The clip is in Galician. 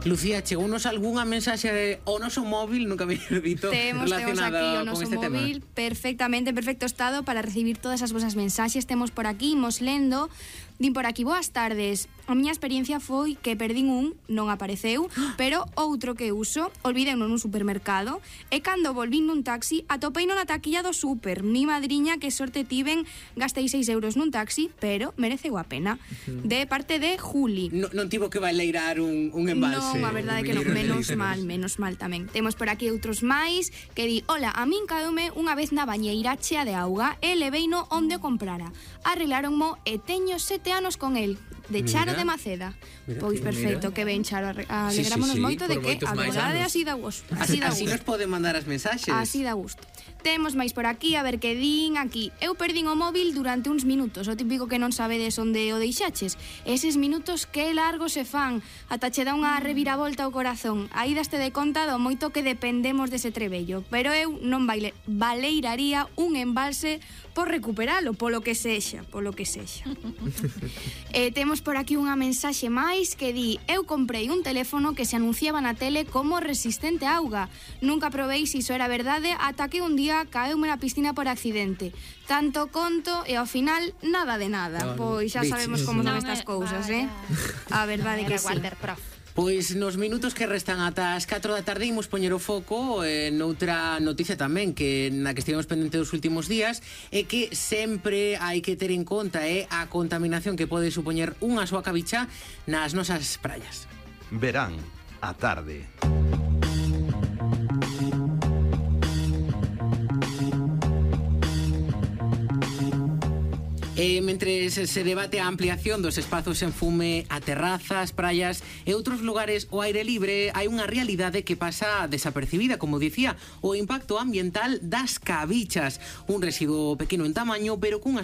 Lucía, chegounos algunha mensaxe ao noso móvil, nunca me dito, Temos relacionada aquí o con noso este tema. móvil perfectamente, en perfecto estado para recibir todas as vosas mensaxes. Temos por aquí, imos lendo. Din por aquí, boas tardes. A miña experiencia foi que perdín non apareceu, pero outro que uso, olvideuno nun supermercado, e cando volvín nun taxi, atopeino na taquilla do super. Mi madriña, que sorte tiven, gastei 6 euros nun taxi, pero mereceu a pena. De parte de Juli. Non tivo que baileirar un embalse. Non, a verdade é que non, menos mal tamén. Temos por aquí outros máis que di, hola, a min caeume unha vez na bañeira chea de auga e leveino onde o comprara. Arreglaronmo e teño 7 anos con el. De Charo de Maceda. Pois perfecto, que ben, Charo. Alegrámonos moito de que a verdade así dá gusto. Así nos poden mandar as mensaxes. Así dá gusto. Temos máis por aquí, a ver que din aquí. Eu perdín o móvil durante uns minutos, o típico que non sabedes onde o deixaches. Eses minutos que largos se fan, ata che dá unha reviravolta ao corazón. Aí daste de conta do moito que dependemos dese trebello, pero eu non baleiraría un embalse por recuperalo, polo que sexa. Temos por aquí unha mensaxe máis que di, eu comprei un teléfono que se anunciaba na tele como resistente a auga. Nunca probei se iso era verdade ata que un día caeume na piscina por accidente. Tanto conto e ao final nada de nada. Pois xa sabemos como son estas cousas, A verdade que sí. Pois nos minutos que restan ata as 4 da tarde imos poñer o foco noutra noticia tamén que na que estivemos pendente dos últimos días e que sempre hai que ter en conta a contaminación que pode supoñer unha soa cabicha nas nosas praias. Verán a tarde. Mentre se debate a ampliación dos espazos en fume a terrazas, praias e outros lugares ao aire libre, hai unha realidade que pasa desapercibida, como dicía, o impacto ambiental das cabichas, un residuo pequeno en tamaño, pero cunhas